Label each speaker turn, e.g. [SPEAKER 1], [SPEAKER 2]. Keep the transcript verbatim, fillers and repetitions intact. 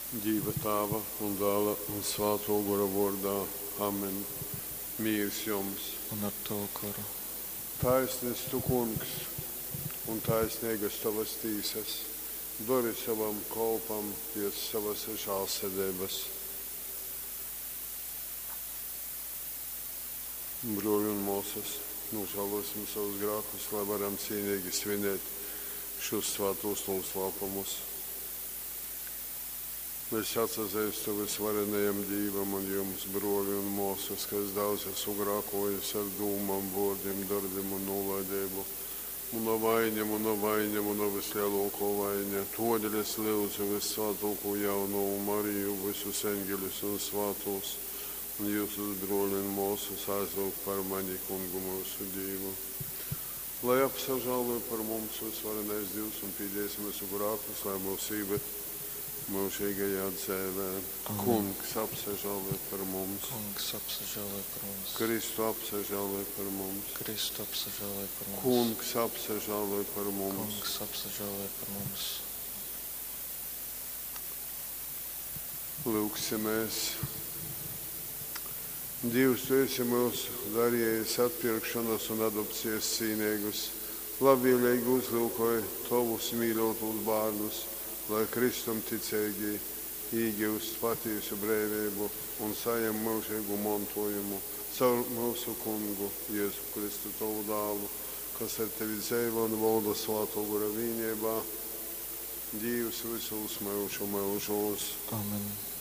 [SPEAKER 1] Dīva Tāva un Dāla un Svātō Gora vōrdā. Amen. Mīrs jums!
[SPEAKER 2] Un ar tovu goru.
[SPEAKER 1] Taisns tu, Kungs, un taisneigas tovas tīsas. Dori sovam kolpam pēc sovas žālsirdeibas. Brōļi un mōsas, nūžālōsim savus grākus, lai varam cīnīgi svinēt šos svātos noslēpumus. Es atsazeistu vysvarenajam Dīvam un jums, brōļi un mōsas, ka es daudz esmu grākōjis ar dūmom, vōrdim, dorbim un nūlaideibu. Muna vaiņa, muna vaiņa, muna vyslielōkō vaiņa. Tōdēļ es lyudzu vyssvātōkū jaunovu Mariju, vysus eņgeļus un svātūs, un jyusus, brōļi un mōsas, aizlyugt par mani Kungu myusu Dīvu. Lai apsažāloj par mums vysvarenais Dīvs un pīdīs myusu grākus, lai mūs īved mūžīgajā dzēvē.
[SPEAKER 2] Amen.
[SPEAKER 1] Kungs, apsažāloj par mums.
[SPEAKER 2] Kungs, apsažāloj par mums.
[SPEAKER 1] Kristu, apsažāloj par mums.
[SPEAKER 2] Kristu, apsažāloj par mums.
[SPEAKER 1] Kungs, apsažāloj par mums.
[SPEAKER 2] Kungs, apsažāloj par mums.
[SPEAKER 1] Lūgsimies. Dievs, tu esi mūs darījis atpirkšanas un adopcijas cīnīgus. Labvēlīgi uzlūkoj tovus mīļotos bērnus, lai Kristum ticeigi īgūst patiesu brīvību un saņem mūžīgu mantojumu caur mūsu kungu Jēzu Kristu tovu dālu, kas ar tevi dzeivo un valda svāto gora vienībā, Dievs visos mūžu mūžos.
[SPEAKER 2] Amen.